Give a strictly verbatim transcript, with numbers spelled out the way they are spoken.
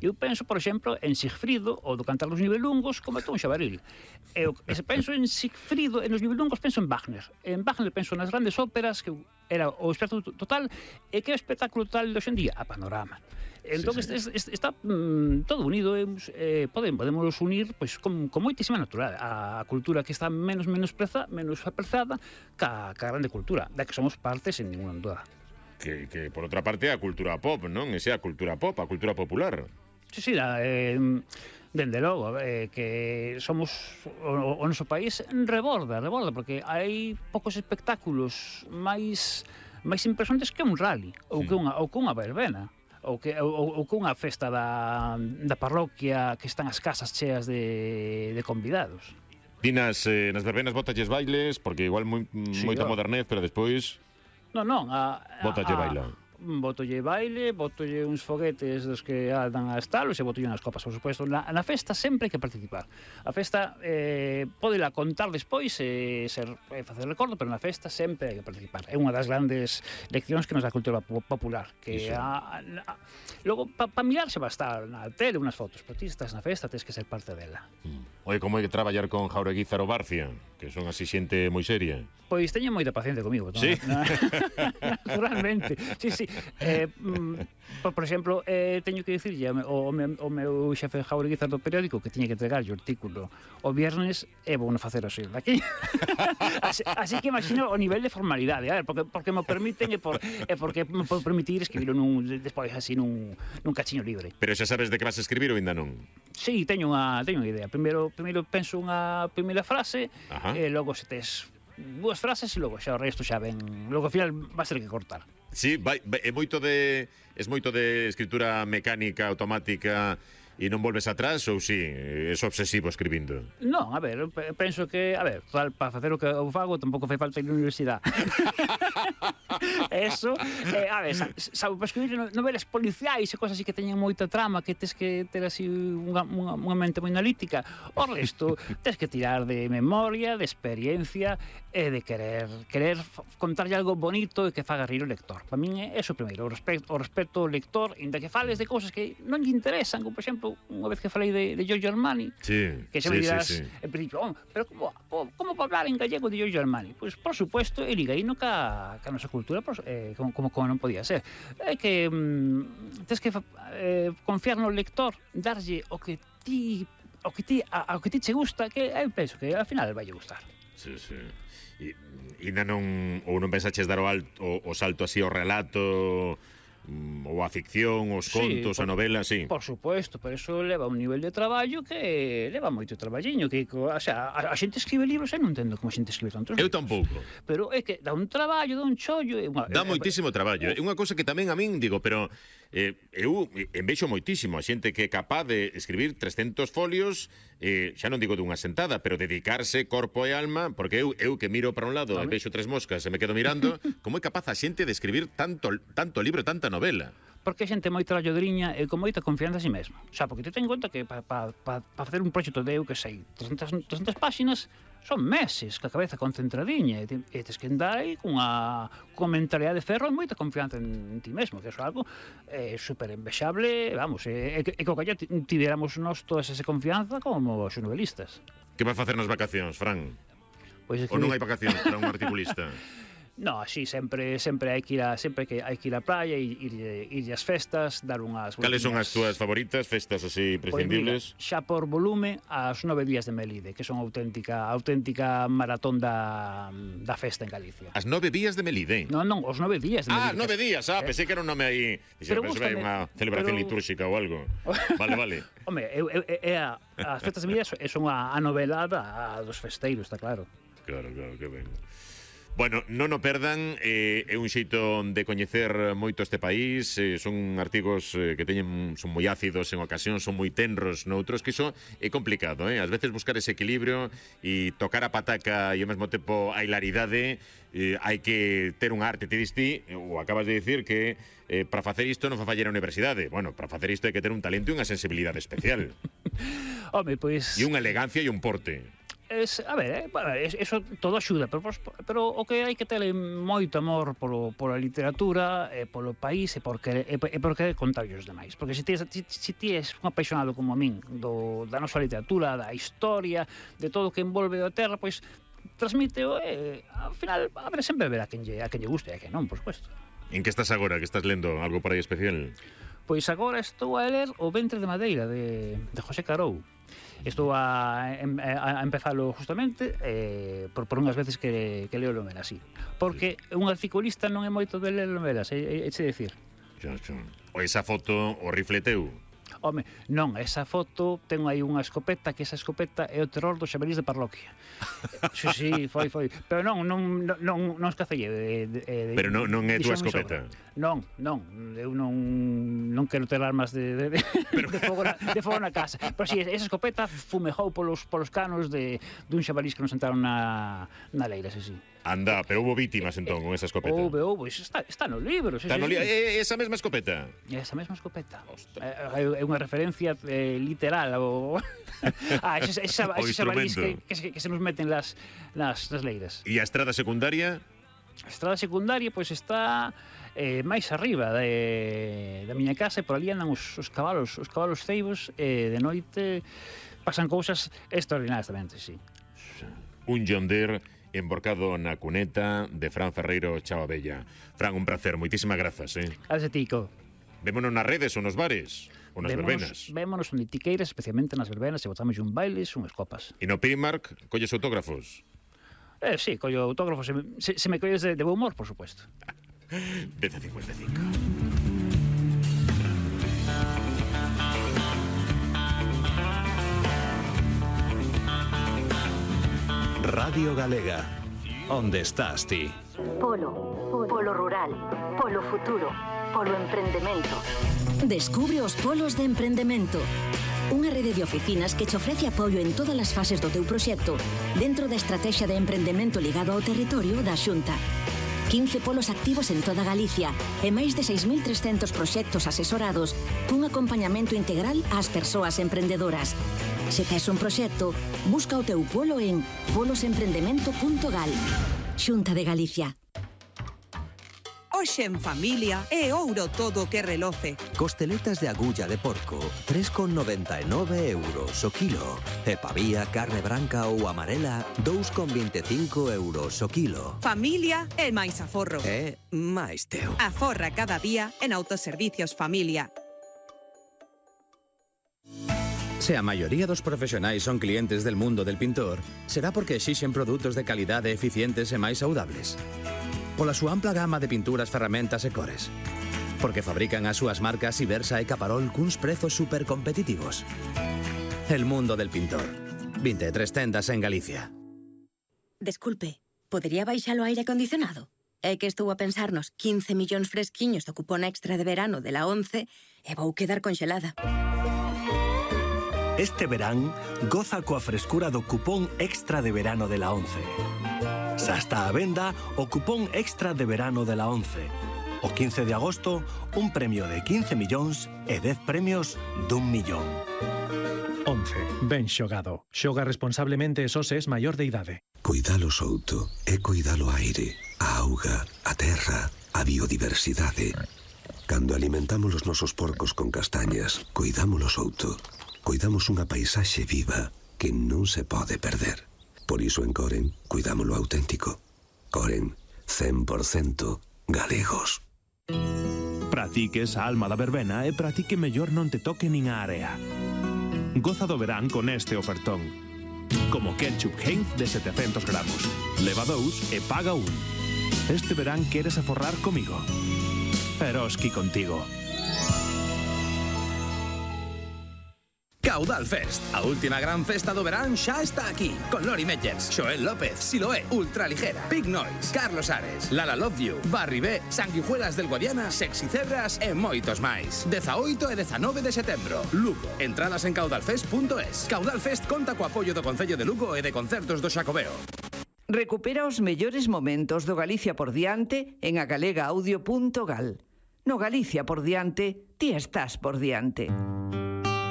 Eu penso, por exemplo, en Sigfrido, ou do Cantar dos Nibelungos, como un xabaril. E, e se penso en Sigfrido e nos Nibelungos, penso en Wagner. En Wagner penso nas grandes óperas, que era o espectáculo total, e que é o espectáculo total de hoxendía? A Panorama. Entón, sí, sí. Está, está mm, todo unido, eh, podemos, podemos unir pois, con, con moitísima natural a, a cultura que está menos menospreza, menos apreciada ca, ca grande cultura, da que somos parte sen ninguna duda. Que, que, por outra parte, a cultura pop, non? Esa é a cultura pop, a cultura popular. Sí, sí, da, eh, dende logo, eh, que somos, o, o noso país reborda, reborda, porque hai poucos espectáculos máis máis impresionantes que un rally, ou que unha, ou que unha verbena. Ou que, ou, ou que unha festa da, da parroquia que están as casas cheas de, de convidados. Ti nas, eh, nas verbenas botalles bailes, porque igual moi, sí, moita oh. modernez, pero despois... Non, non, a... Botalle baila. Botolle baile, botolle uns foguetes dos que andan a estalos e botolle unhas copas, por suposto. Na, na festa sempre hai que participar. A festa eh, podela contar despois e ser, eh, facer recordo, pero na festa sempre hai que participar. É unha das grandes leccións que nos dá a cultura popular. Que a, a, logo, para pa mirarse va a estar na tele unhas fotos, pero ti estás na festa, tens que ser parte dela. Mm. Oye, como hai que traballar con Jauregui Zaro Barcia, que son así xente moi seria? Pois teño moita paciencia comigo. Sí? Naturalmente. Sí, sí. Eh, por, por exemplo, eh, teño que dicirlle o, o, o meu xefe Jauregui do periódico que tiña que entregar o artículo o viernes e vou non facer o ser daqui. así, así que imagino o nivel de formalidade, a ver, porque, porque me permiten e, por, e porque me pode permitir escribirlo nun, despois así nun, nun cachiño libre. Pero xa sabes de que vas a escribir ou ainda non? Sí, teño unha, teño unha idea. Primeiro, primeiro penso unha primeira frase. Ajá. E logo se tes dúas frases e logo xa o resto xa ven, logo ao final vas ter que cortar. Sí, vai, vai, é moito de es moito de escritura mecánica, automática e non volves atrás ou si, é obsesivo escribindo? Non, a ver, penso que, a ver, para facer o que eu fago tampouco fai falta ir á universidade. Eso, eh, a ver, sabe, para escribir novelas policiais e cosas así que teñen moita trama, que tes que ter así unha, unha, unha mente moi analítica, o resto tes que tirar de memoria, de experiencia e de querer querer contarlle algo bonito e que faga rir o lector. Para min é eso primeiro, o respecto, o respecto ao lector, inda que fales de cousas que non lle interesan, como por exemplo, unha vez que falei de, de Giorgio Armani, sí, que xa sí, me dirás, sí, sí. en principio, oh, pero como, como, como para hablar en gallego de Giorgio Armani? Pois, pues, por supuesto, e liga aí no ca, ca nosa cultura, pues, eh, como, como, como non podía ser. É que mm, tens que eh, confiar no lector, darlle o que ti o que ti, a, a que ti che gusta, que eu penso que ao final vai gustar. Sí, sí. E, e non, ou non pensaches dar o, alto, o, o salto así ao relato, ou a ficción, os contos, sí, por, a novela, sí. Por suposto, por eso leva un nivel de traballo que leva moito traballiño, que, o sea, a, a xente escribe libros, eu non entendo como a xente escribe tantos eu libros. Eu tampouco. Pero é que dá un traballo, dá un chollo, é unha, dá moitísimo traballo. É unha cousa que tamén a min digo, pero eh, eu envexo moitísimo a xente que é capaz de escribir trescentos folios, eh, xa non digo dunha sentada, pero dedicarse corpo e alma, porque eu, eu que miro para un lado e vexo tres moscas e me quedo mirando, como é capaz a xente de escribir tanto, tanto libro, tanta novela? Porque a xente moi tralladoriña e con moita confianza en si mesmo. Xa, porque te ten en conta que para pa, pa, pa facer un proxecto de eu que sei, trescentas páxinas, son meses, ca cabeza concentradiña, e, te, e tes que andar aí cunha, cunha mentalidade de ferro e moita confianza en, en ti mesmo, que é algo eh, super envexable, vamos, e, e, e que o que tiveramos nós toda esa confianza como os novelistas. Que vai facer nas vacacións, Fran? Pois Ou non hai vacacións para un articulista? No, así sempre sempre hai que ir a sempre que hai que ir á praia e ir, ir, ir ás festas, dar unhas Cales son as túas favoritas festas así prescindibles? Pues mira, xa por volume as nove días de Melide, que son auténtica auténtica maratón da da festa en Galicia. As nove días de Melide? Non, non, os nove días de Melide. Ah, nove días, ah, eh? Pensei que era un nome aí, dixen, pero pensei unha celebración pero... litúrxica ou algo. Vale, vale. Home, eu, eu, é a, as festas de Melide son a, a novelada dos festeiros, está claro. Claro, claro, que ben. Bueno, non o perdan, eh, é un xeito de coñecer moito este país, eh, son artigos eh, que teñen son moi ácidos en ocasión, son moi tenros noutros, que iso é complicado, eh? Ás veces buscar ese equilibrio e tocar a pataca e ao mesmo tempo a hilaridade, eh, hai que ter un arte, te diste, ou acabas de dicir que eh, para facer isto non fa fallar a universidade. Bueno, para facer isto hai que ter un talento e unha sensibilidade especial. Home, pois... E unha elegancia e un porte. Es, a ver, eh, bueno, es, eso todo axuda, pero, pero o que hai que ter moito amor polo, pola literatura, e polo país, e por querer, e, e por querer contar os demais. Porque se ti, si, si ti és un apaixonado como a min do, da nosa literatura, da historia, de todo o que envolve a terra, pois transmite, e ao final, a ver, sempre verá a quen lle, a quen lle guste e a quen non, por supuesto. En que estás agora? Que estás lendo? Algo por aí especial? Pois agora estou a ler O ventre de madeira, de, de José Carou. Estou a, a, a empezalo justamente eh, por, por unhas veces que, que leo novelas, así. Porque un articulista non é moito de ler novelas, é, é, é decir. Xo, xo. O esa foto, o rifle teu? Home, non, esa foto ten aí unha escopeta, que esa escopeta é o terror dos xabarís de parroquia. Si, sí, foi, foi. Pero non, non, non, non escacelle. De, de, de, Pero non, non é túa escopeta? Non, non, eu non, non quero ter armas de, de, de, Pero... de, fogo na, de fogo na casa. Pero si, sí, esa escopeta fumejou polos, polos canos de, dun xabarís que nos entraron na, na leira, si, si. Anda, pero houve vítimas entón con esa escopeta. Houve, houve, está, está no libro. Está no libro, é esa mesma escopeta? Esa mesma escopeta. É, é unha referencia eh, literal ao... ah, ese, ese, ese xabarís que, que, se, que se nos meten las, las, las leiras. E a estrada secundaria? A estrada secundaria, pois, pues, está eh, máis arriba de, da miña casa, e por ali andan os, os cabalos, os cabalos ceibos, e de noite pasan cousas extraordinarias tamén, sí. Un John Deere emborcado na cuneta de Fran Ferreiro Chao Abella. Fran, un placer, moitísimas grazas, eh? Gracias, Tico. Vémonos nas redes ou nos bares, ou nas verbenas. Vémonos onde ti queiras, especialmente nas verbenas, e botamos un bailes, unhas copas. E no Primark, colles autógrafos? Eh, sí, collo autógrafos, se, se, se me colles de, de bo humor, por supuesto. dez a cincuenta e cinco. Radio Galega. Onde estás ti? Polo, polo rural, polo futuro, polo emprendemento. Descubre os polos de emprendemento. Unha rede de oficinas que te ofrece apoio en todas as fases do teu proxecto dentro da estrategia de emprendemento ligado ao territorio da Xunta. quince polos activos en toda Galicia e máis de seis mil trescentos proxectos asesorados cun acompañamento integral ás persoas emprendedoras. Se tes un proxecto, busca o teu polo en polos emprendemento punto gal. Xunta de Galicia. Hoxe en familia é ouro todo o que reloce. Costeletas de agulla de porco, tres con noventa e nove euros o kilo. E pavía, carne branca ou amarela, dous con vinte e cinco euros o kilo. Familia é máis aforro. É máis teu. Aforra cada día en Autoservicios Familia. Se a maioría dos profesionais son clientes del mundo del pintor, será porque exixen produtos de calidade eficientes e máis saudables. Pola súa ampla gama de pinturas, ferramentas e cores. Porque fabrican as súas marcas Ibersa e Caparol cuns prezos supercompetitivos. El mundo del pintor. vinte e tres tendas en Galicia. Desculpe, podería baixar o aire acondicionado? É que estou a pensar nos quince millóns fresquiños do cupón extra de verano de la once e vou quedar conxelada. Este verán, goza coa frescura do cupón extra de verano de la once. Xa está a venda o cupón extra de verano de la once. O quince de agosto, un premio de quince millóns e dez premios dun millón. once. Ben xogado. Xoga responsablemente e só se es maior de idade. Cuidalo souto é cuidalo aire, a auga, a terra, a biodiversidade. Cando alimentamos os nosos porcos con castañas, cuidámolo souto. Cuidamos unha paisaxe viva que non se pode perder. Por iso en Coren, cuidámolo auténtico. Coren, cen por cento galegos. Practiques a alma da verbena e practique mellor non te toque nin a area. Goza do verán con este ofertón. Como ketchup Heinz de setecentos gramos. Leva dous e paga un. Este verán queres aforrar comigo. Eroski contigo. Caudal Fest, a última gran festa do verán xa está aquí. Con Lori Meyers, Xoel López, Siloé, Ultraligera, Big Noise, Carlos Ares, Lala Love You, Barry B, Sanguijuelas del Guadiana, Sexy Cebras e moitos máis. dezaoito e dezanove de setembro, Lugo. Entradas en caudalfest punto es. Caudal Fest conta co apoio do Concello de Lugo e de concertos do Xacobeo. Recupera os mellores momentos do Galicia por diante en agalega audio punto gal. No Galicia por diante, ti estás por diante.